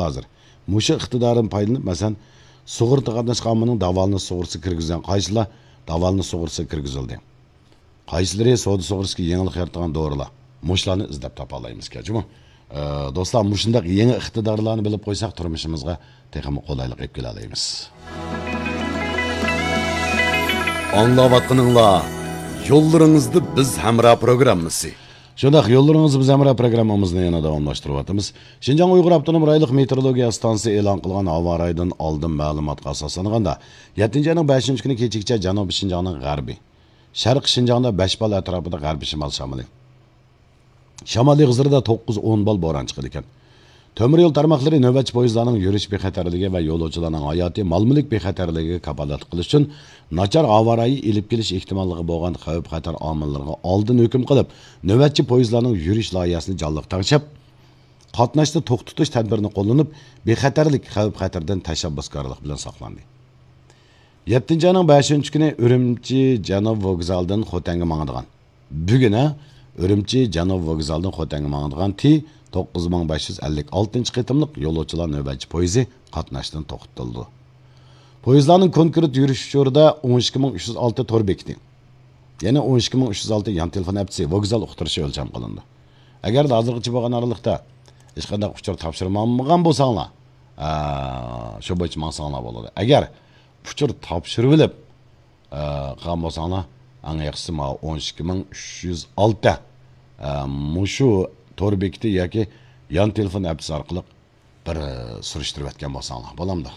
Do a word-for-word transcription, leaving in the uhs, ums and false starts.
ھازىر. مۇشۇ ئىقتىدارىدىن پايدىلىنىپ، مەسىلەن، سۇغۇرتا قاتناشقان ئاممىنىڭ داۋالىنىش سۇغۇرتىسىغا كىرگۈزگەن قايسىلار داۋالىنىش سۇغۇرتىسىغا كىرگۈزۈلدى؟ قايسىلىرى سودا سۇغۇرتىسىغا يېڭىلىق يارىتىدىغان دورىلار؟ مۇشۇلارنى ئىزدەپ تاپالايمىزكەن، جۇمۇ. ئە، دوستلار، مۇشۇنداق يېڭى ئىقتىدارلارنى بىلىپ قويساق، تۇرمۇشىمىزغا تېخىمۇ قولايلىق ئېلىپ كېلەلەيمىز. ئاڭلاۋاتقىنىڭلار يوللىرىڭىزدا بىز ھەمراھ پروگراممىسى. شۇنداق، يوللىرىڭىزدا بىز ھەمراھ پروگراممىمىزنى يەنە داۋاملاشتۇرۇۋاتىمىز. شىنجاڭ ئۇيغۇر ئاپتونوم رايونلۇق مېتېئورولوگىيە ئىستانسىسى ئېلان قىلغان ھاۋا رايىدىن ئالدىن مەلۇماتقا ئاساسلانغاندا، يەتتىنچى ئاينىڭ بەشىنچى كۈنى كېچىگىچە جەنۇبىي شىنجاڭنىڭ غەربىي، شەرقىي شىنجاڭدا بەش بال ئەتراپىدا غەربىي شىمال شامىلى، شامال ئېغىزلىرىدا توققۇز ئون بال بوران چىقىدىكەن. تۆمۈر يول تارماقلىرى نۆۋەتچى پويىزلارنىڭ يۈرۈش بىخەتەرلىكى ۋە يولۇچىلارنىڭ ھاياتى، مال-مۈلۈك بىخەتەرلىكىگە كاپالەتلىك قىلىش ئۈچۈن ناچار ھاۋا رايى ئېلىپ كېلىش ئېھتىماللىقى بولغان خەۋپ-خەتەر ئامىللىرىغا ئالدىن ھۆكۈم قىلىپ، نۆۋەتچى پويىزلارنىڭ يۈرۈش لايىھەسىنى جانلىق تەڭشەپ، قاتناشنى توختىتىش تەدبىرىنى قوللىنىپ، بىخەتەرلىك خەۋپ-خەتەردىن تەشەببۇسكارلىق بىلەن ساقلاندى. يەتتىنچى ئاينىڭ بەشىنچى كۈنى ئۈرۈمچى جەنۇب ۋوگزالىدىن خوتەنگە ماڭىدىغان، بۈگۈن، ھە، ئۈرۈمچى جەنۇب ۋوگزالىدىن خوتەنگە ماڭىدىغان تى توققۇز مىڭ بەش يۈز ئەللىك ئالتىنچى قېتىملىق يولۇچىلار نۆۋەتچى پويىزى قاتناشتىن توختىتىلىدۇ. پويىزلارنىڭ كونكرېت يۈرۈش ئۇچۇرىدا ئون ئىككى مىڭ ئۈچ يۈز ئالتە تور بېكىتى، يەنى ئون ئىككى مىڭ ئۈچ يۈز ئالتە يان تېلېفون ئەپسى، ۋوگزال ئۇقتۇرۇشى ئۆلچەم قىلىنىدۇ. ئەگەردە ھازىرغىچە بولغان ئارىلىقتا ھېچقانداق ئۇچۇر تاپشۇرمىغان بولساڭلار، ئا، شۇ بويىچە ماڭساڭلار بولىدۇ. ئەگەر ئۇچۇر تاپشۇرۇۋېلىپ، ئا، قىلغان بولساڭلار، ئەڭ ياخشىسى ماۋۇ ئون ئىككى مىڭ ئۈچ يۈز ئالتە، ئا، مۇشۇ تور بېكىتى ياكى يان تېلېفون ئەپسى ئارقىلىق بىر، ئا، سۈرۈشتۈرۈۋەتكەن بولساڭلار بولامدۇ؟